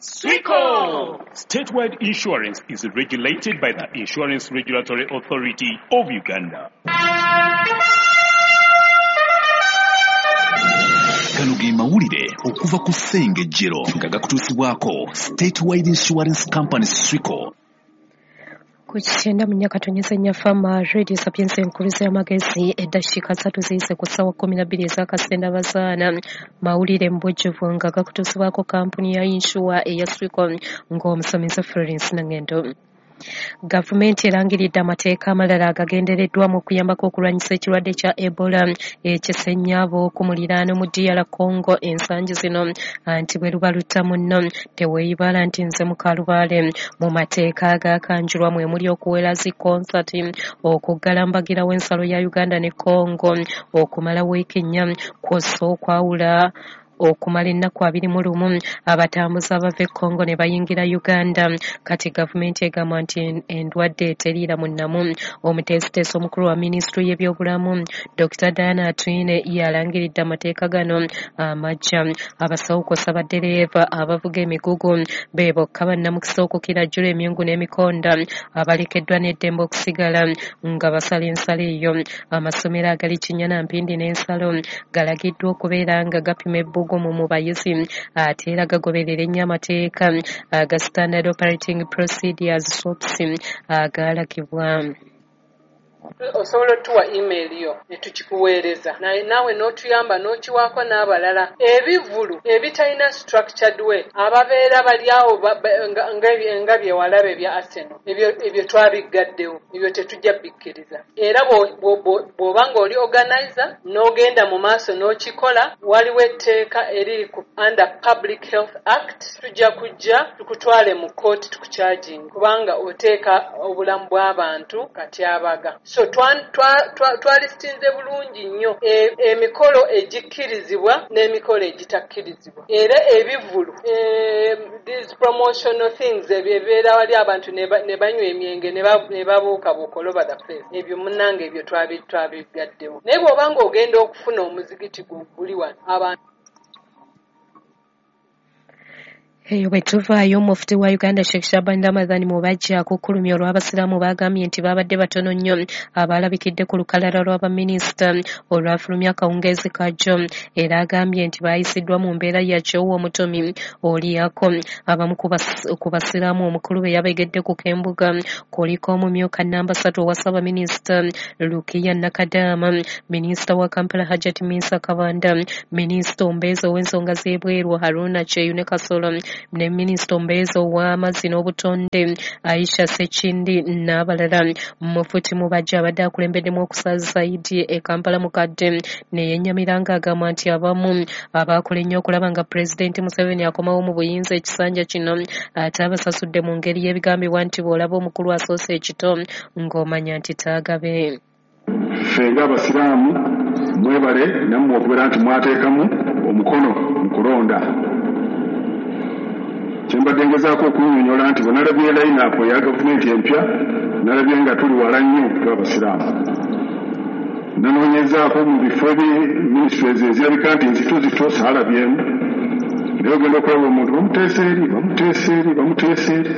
Swico! Statewide Insurance is regulated by the Insurance Regulatory Authority of Uganda. Gano ge mawulire okuva ku Ssengejjero nga gakutuusibwako Statewide Insurance Company Swico. Ku 94.4 Fama Radio Sapienza enkuluze y'amagezi, eddakiika 3 ziyise ku ssaawa 12 ez'akasenda bazaana. Mawulire mu bujjuvu nga gakutuusibwako kampuni ya insure eya Swico ng'omusomesa Florence Nangendo. Gavumenti erangiridde amateeka amalala agagendereddwamu okuyambako okulwanyisa ekirwadde kya Ebola ekisenya ab'oku muliraano mu DR Congo ensangi zino, anti bwe luba lutta munno teweeyibala nti nze mukalubaale. Mu mateeka agakanjulwa mwe muli okuwera zi konsati, okuggala mbagirawo ensalo ya Uganda ne Congo okumala wiiki 4, kw'ossa okwawula okumala ennaku 21 abatambuze abava e Congo ne bayingira Uganda. Kati gavumenti egamba nti endwadde eteriira mu nnamu. Omuteesiteesi omukulu wa minisitule y'ebyobulamu Dr. Diana Atwine yalangiridde amateeka gano amajja. Abasawo kw'ossa baddereeva abavuga emigugu be bokka bannamukisa okukira jjula emyungu n'emikonda abalekeddwa n'eddembe okusigala nga basala ensalo eyo. Amasomero agali Kinyana, Mpindi n'ensalo galagiddwa okubeera nga gapima ebbugumu mu bayizi ate era gagoberera ennyo amateeka aga Standard Operating Procedures SOPs agaalagibwa. Osobola otuwa email yo ne tukikuweereza, naye naawe n'otuyamba n'okiwaako n'abalala. Ebivvulu ebitalina structured way, ababeera bali awo nga bye walaba ebya Arsenal, ebyo twabiggaddewo, ebyo tetujja bikkiriza. Era bw'oba ng'oli organizer n'ogenda mu maaso n'okikola, waliwo etteeka eriri ku under Public Health Act, tujja kujja tukutwale mu kkooti tukucharging kubanga oteeka obulamu bw'abantu katyabaga. So twalistinze bulungi nnyo emikolo egikkirizibwa n'emikolo egitakkirizibwa. Era ebivvulu, these promotional things ebibeera wali abantu ne banywa emyenge ne babuukabuuka all over the place, ebyo munnange ebyo twabigaddewo. Naye bw'oba ng'ogenda okufuna omuzigiti guli wano abantu. Eyo bwe tuvaayo, Mufti wa Uganda Sheikh Shaban Ramadhan Mubajje akukkulumye olw'abasiraamu baagambye nti baabadde batono nnyo abaalabikidde ku lukalala lw'abaminisita olwafulumya akawungeezi ka jjo, era agambye nti baayisiddwa mu mbeera ya kyowa omutomi olyako. Abamu ku basiraamu omukulu be yabegedde ku k'embuga kuliko omumyuka namba 3 owa ssaabaminisita Lukiya Nakadama, minisita wa Kampala Hajat Minsa Kabanda, minisita omubeezi ow'ensonga z'ebweru Haruna Kyeyune Kasolo, ne minisita omubeezi ow'amazzi n'obutonde Aisha Sekindi n'abalala. Mufuti Mubajje abadde akulembeddemu okusaza Idi e Kampala mukadde ne yennyamira ng'agamba nti abamu abaakola ennyo okulaba nga Pulezidenti Museveni akomawo mu buyinza ekisanja kino ate abasasudde mu ngeri y'ebigambibwa nti bw'olaba omukulu asoose ekito ng'omanya nti taagabe. Ffe ng'abasiraamu mwebale nammwe okubeera nti mwateekamu omukono mu kulonda. Kyembadde ngezaako okunnyonnyola nti bwe nalabye line-up eya gavumenti empya, nalabye nga tuli wala nnyo tw'abasiraamu. Nanoonyezaako mu bifo ebi ministries ezirabika nti nzito zito saalabyemu, naye ogenda okulaba omuntu bamuteesa eri, bamuteesa eri, bamuteesa eri.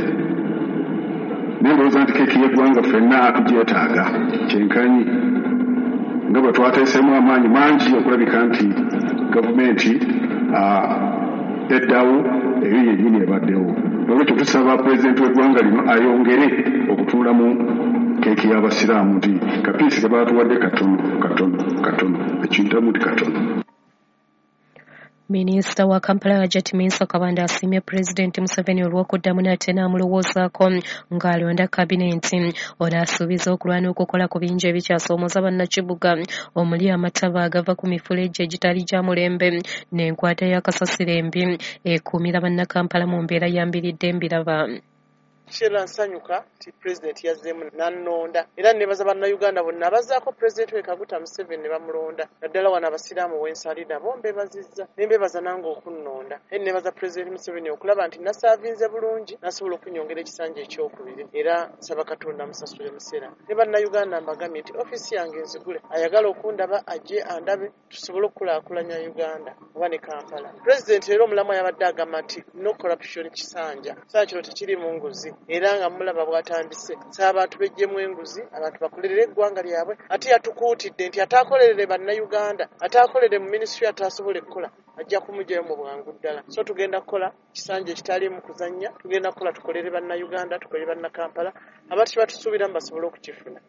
Naye ndowooza nti keeki y'eggwanga ffenna tugyetaaga kyenkanyi nga bwe twateeseemu amaanyi mangi okulabika nti gavumenti eddawo eyo yennyini ebaddewo. Olwekyo tusaba pulezidenti w'eggwanga lino ayongere okutuula mu keeki y'abasiraamu nti kapiisi ke baatuwadde katono katono katono, ekintamu nti katono. Minisita wa Kampala Hajat Minsa Kabanda asiimye Pulezidenti Museveni olw'okuddamu nate n'amulowoozaako ng'alonda kabineeti. Ono asuubiza okulwana okukola ku bingi ebikyasoomooza bannakibuga omuli amataba agava ku mifulejje egitali gya mulembe n'enkwata y'akasasiro embi ekuumira bannakampala mu mbeera ya mbiridde mbiraba. Sheila nsanyuka nti pulezidenti yazzeemu n'annonda era nebaza bannayuganda bonna abazzaako pulezidenti we Kaguta Museveni ne bamulonda, naddala wano abasiraamu wensali nabo mbebazizza ne mbebaza nange okunnonda. Era nebaza pulezidenti Museveni okulaba nti nasaavinze bulungi nasobola okunyongera ekisanja ekyokubiri, era nsaba Katonda musasule musera. Ne bannayuganda mbagambye nti ofiisi yange nzigule, ayagala okundaba ajje andabe tusobole okukulaakulanya Uganda oba ne Kampala. Pulezidenti era omulamu yabadde agamba nti no corruption kisanja, kisanja kino tekirimu nguzi, era nga mulaba bw'atandise. Nsaba abantu beggyemu enguzi, abantu bakolerere eggwanga lyabwe. Ate yatukuutidde nti ataakolerere bannayuganda, ataakolere mu minisitule ataasobola okukola ajja kumuggyayo mu bwangu ddala. So tugenda kukola kisanja ekitaliimu kuzannya, tugenda kukola tukolere bannayuganda, tukolere bannakampala, abantu kye batusuubiramu basobole okukifuna.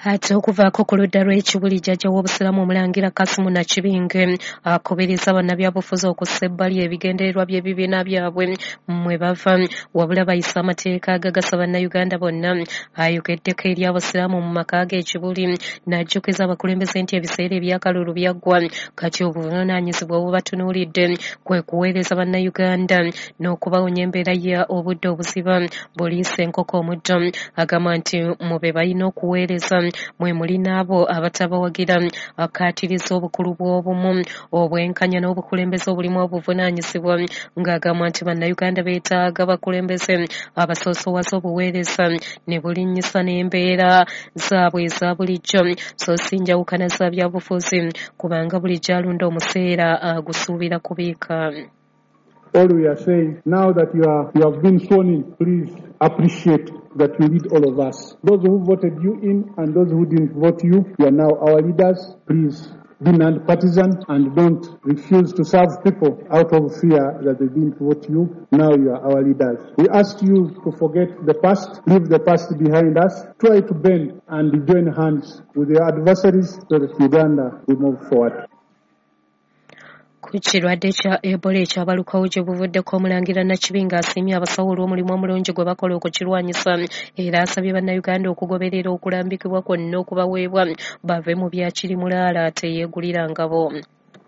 Ate okuvaako ku ludda lw'Ekibuli, jjajja w'Obusiraamu Omulangira Kasimu Nakibinge akubiriza bannabyabufuzi okussa ebbali ebigendererwa by'ebibiina byabwe mwe bava, wabula bayise amateeka agagasa bannayuganda bonna. Ayogeddeko eri abasiraamu mu maka ge Ekibuli n'ajjukiza abakulembeze nti ebiseera ebyakalulu byaggwa, kati obuvunaanyizibwa obubatunuulidde kwe kuweereza bannayuganda n'okubawonya embeera ya obudde obuziba buliisa enkoko omuddo. Agamba nti mu be balina okuweereza mwe muli n'abo abatabawagira. Akkaatiriza obukulu bw'obumu, obwenkanya n'obukulembeze obulimu obuvunaanyizibwa, ng'agamba nti bannayuganda beetaaga bakulembeze abasoosowaza obuweereza ne bulinnyisa n'embeera zaabwe eza bulijjo, so si njawukana za byabufuzi, kubanga bulijjo alunda omuseera agusuubira kubiika. All we are saying now that you have been sworn in, please appreciate that you lead all of us. Those who voted you in and those who didn't vote you, you are now our leaders. Please be non-partisan and don't refuse to serve people out of fear that they didn't vote you. Now you are our leaders. We ask you to forget the past, leave the past behind us, try to bend and join hands with your adversaries so that Uganda will move forward. Ku kirwadde kya Ebola ekyabalukawo gye buvuddeko, Omulangira Nakibinge asiimye abasawo olw'omulimu omulungi gwe bakola okukirwanyisa, era asabye bannayuganda okugoberera okulambikibwa kwonna okubaweebwa bave mu bya kirimulaala teyeegulira ngabo.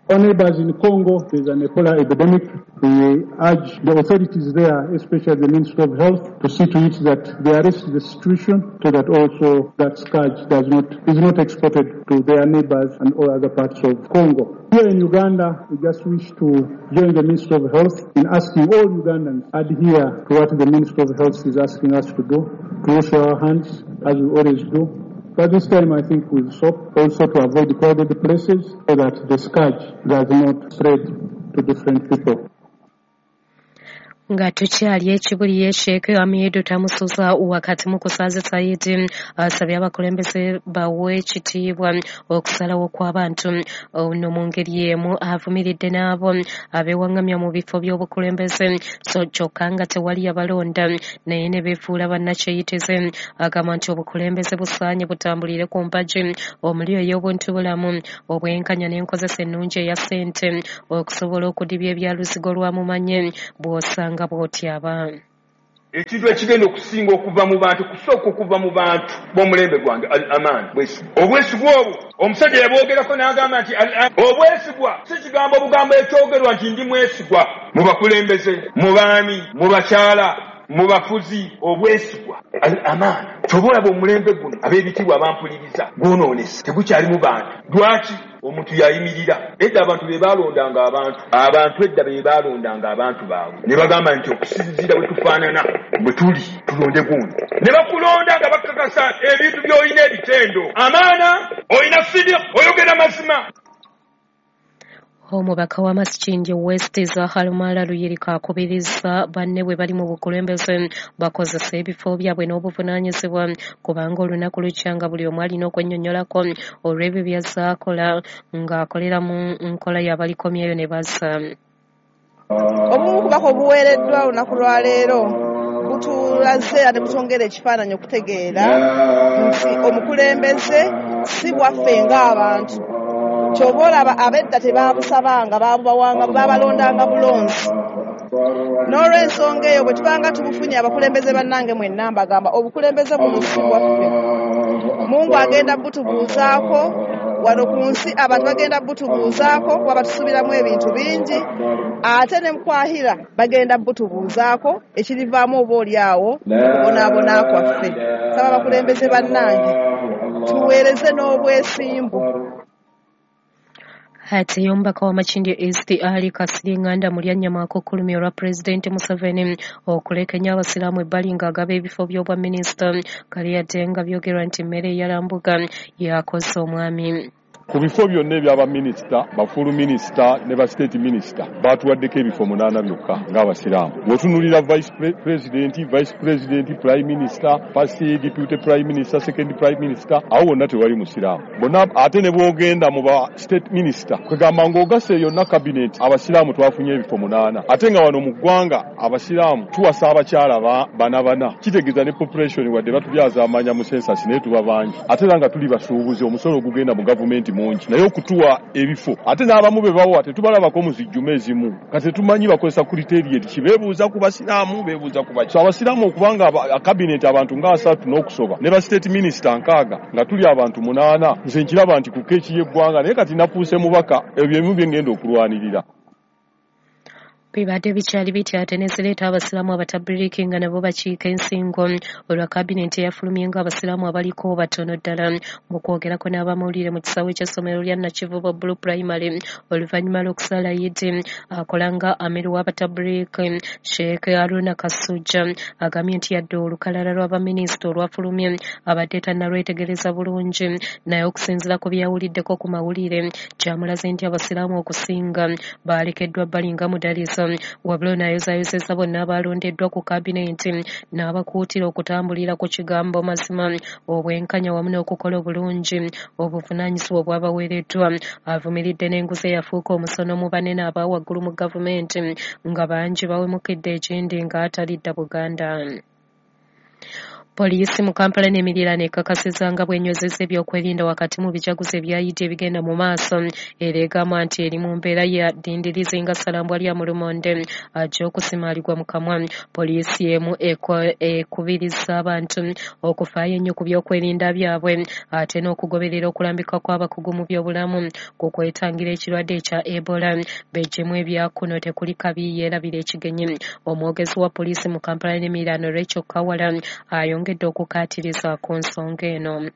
Our neighbors in Congo, there's an Ebola epidemic. We urge the authorities there, especially the Ministry of Health, to see to it that they arrest the situation so that also that scourge is not exported to their neighbors and all other parts of Congo. Here in Uganda, we just wish to join the Ministry of Health in asking all Ugandans adhere to what the Ministry of Health is asking us to do, to wash our hands as we always do. But this time I think we'll stop also to avoid crowded places so that the scourge does not spread to different people. Nga tukyali Ekibuli, ye Sheikh Hamidu Tamusuza wakati mu kusaaza Saidi asabye abakulembeze bawe ekitiibwa okusalawo kw'abantu. Ono mu ngeri emu avumiridde n'abo abeewaŋŋamya mu bifo by'obukulembeze, so kyokka nga tewali yabalonda naye ne beefuula bannakyeyitize. Agamba nti obukulembeze busaanye butambulire ku mpagi omuli ey'obuntubulamu, obwenkanya n'enkozesa ennungi eya ssente okusobola okudibya ebyaluzigo lwa mumanye bw'osanga bw'otyaba. Ekintu ekigenda okusinga okuva mu bantu, kusooka okuva mu bantu b'omulembe gwange, al amaan, bwesigwa. Obwesigwa obwo omusajja yabwogerako n'agamba nti obwesigwa si kigambo obugambo ekyogerwa nti ndi mwesigwa. Mu bakulembeze, mu baami, mu bakyala, mu bafuzi, obwesigwa al amaan. Ky'oba olaba omulembe guno ab'ebitiibwa abampuliriza gwonoonese, tegukyalimu bantu. Lwaki? Omuntu yayimirira. Edda abantu be baalondanga abantu, abantu edda be baalondanga abantu baabwe ne bagamba nti okusinziira bwe tufaanana bwe tuli tulonde gundi, ne bakulonda nga bakakasa ebintu by'olina, ebitendo, amaana, olina sidiq, oyogera mazima. Omubaka wa Makindye West Zahara Luyirika akubiriza banne bwe bali mu bukulembeze bakozese ebifo byabwe n'obuvunaanyizibwa, kubanga olunaku lukya nga buli omu alina okwennyonnyolako olw'ebyo by'azaakola ng'akolera mu nkola y'abalikomyeyo ne bazza. Obumu kubaka obuweereddwa olunaku lwaleero butulaze era ne butwongera ekifaananyi okutegeera nti omukulembeze si bwaffe ng'abantu. Ky'oba olaba ab'edda tebaabusabanga, baabubawanga, baabalondanga bulonzi. N'olw'ensonga eyo bwe tubanga tubufunye abakulembeze bannange mwenna mbagamba obukulembeze buno si bwaffe. Mungu agenda butubuuzaako Wano ku nsi abantu bagenda butubuuzaako kuba batusuubiramu ebintu bingi, ate ne mukwahira bagenda butubuuzaako ekirivaamu oba oli awo okubonaabona kwaffe. Saba abakulembeze bannange tuweereze n'obwesimbu. Ate omubaka wa Makindye East Ali Kasirye Mulyannyama akukkulumye olwa Pulezidenti Museveni okulekenya abasiraamu ebbali ng'agaba ebifo by'obwa minisita, kale yadde nga byogerwa nti mmere eyalambuga yakoze omwami. Ku bifo byonna eby'abaminisita, bafuulu minisita ne ba state minisita baatuwaddeko ebifo 8 byokka ng'abasiraamu. Bw'otunuulira vice president, vice president, prime minister, first deputy prime minister, second prime minister, awo wonna tewali musiraamu. Bonna ate ne bw'ogenda mu ba state minister, kwegamba ng'ogasse yonna cabinet abasiraamu twafunye ebifo 8. Ate nga wano mu ggwanga abasiraamu tuwasa abakyala bana bana, kitegeeza ne population wadde batubyaza amanya mu census naye tuba bangi. Ate era nga tuli basuubuzi, omusolo ogugenda mu gavumenti mungi, naye okutuwa ebifo ate n'abamu be bawa tetubalabako mu zijjuma ezimu. Kati tetumanyi bakozesa criteria ki, beebuuza ku basiraamu, beebuuza ku baki. So abasiraamu okubanga cabinet abantu nga 3 n'okusoba ne ba state minister 6 nga tuli abantu 8, nze nkiraba nti ku keeki y'eggwanga, naye kati nafuuse mubaka, ebyo ebimu bye ngenda okulwanirira. Bibadde bikyali bitya ate ne zireeta abasiraamu abatabiriki nga nabo bakiika ensingo olwa kabinenti eyafulumye ng'abasiraamu abaliko batono ddala. Mu kwogerako n'abamawulire mu kisaawe ky'essomero lya Nakivubo Blue Primary oluvannyuma lw'okusala Yidi, akola nga amiru w'abatabiriki Sheikh Haruna Kasujja agambye nti yadde olukalala lw'abaminisita olwafulumye abadde tannalwetegereza bulungi, naye okusinziira ku byawuliddeko ku mawulire kyamulaze nti abasiraamu okusinga baalekeddwa bbali nga mudaliso. Wabula ono ayozaayozezza bonna abalondeddwa ku kabinenti n'abakuutira okutambulira ku kigambo mazima, obwenkanya wamu n'okukola obulungi obuvunaanyizibwa obwabaweereddwa. Avumiridde n'enguzi eyafuuka omusono mu banene aba waggulu mu gavumenti nga bangi bawemukidde ekindi ng'atalidda Buganda. Poliisi mu Kampala n'emiriraano ekakasizza nga bw'enywezezza ebyokwerinda wakati mu bijaguzo ebya Yidi ebigenda mu maaso, era egamba nti eri mu mbeera ya ddindirizi nga Ssalambwa lya Mulumonde ajja okusimaalibwa mu kamwa. Poliisi emu ekubiriza abantu okufaayo ennyo ku byokwerinda byabwe ate n'okugoberera okulambika kw'abakugu mu byobulamu ku kwetangira ekirwadde ekya Ebola. Beggyemu ebyakuno tekuli kabi yeerabira ekigenyi. Omwogezi wa poliisi mu Kampala n'emiriraano Rachel Kawala ayongedde okukaatiriza ku nsonga eno.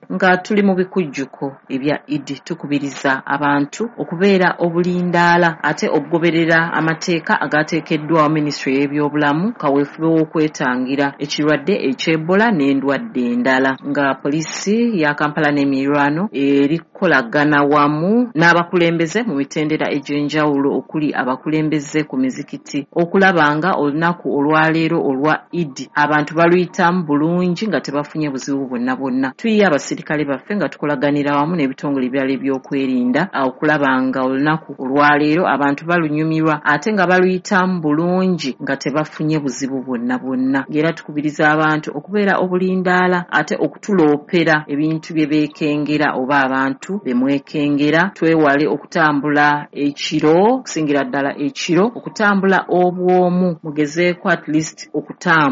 Nga tuli mu bikujjuko ebya Idi, tukubiriza abantu okubeera obulindaala ate okugoberera amateeka agateekeddwawo minisitule y'ebyobulamu kaweefube w'okwetangira ekirwadde eky'Ebola n'endwadde endala. Nga poliisi ya Kampala n'emiriraano erikolagana wamu n'abakulembeze mu mitendera egy'enjawulo okuli abakulembeze ku mizikiti okulaba nga olunaku olwaleero olwa Idi abantu baluyitamu bulungi nga tebafunye buzibu bwonna bwonna. Tuyiye abasirikale baffe nga tukolaganira wamu n'ebitongole ebirala ebyokwerinda okulaba nga olunaku olwaleero abantu balunyumirwa ate nga baluyitamu bulungi nga tebafunye buzibu bwonna bwonna. Era tukubiriza abantu okubeera obulindaala ate okutuloopera ebintu bye beekengera oba abantu be mwekengera. Twewale okutambula ekiro, okusingira ddala ekiro, okutambula obwomu, mugezeeko at least okutambula.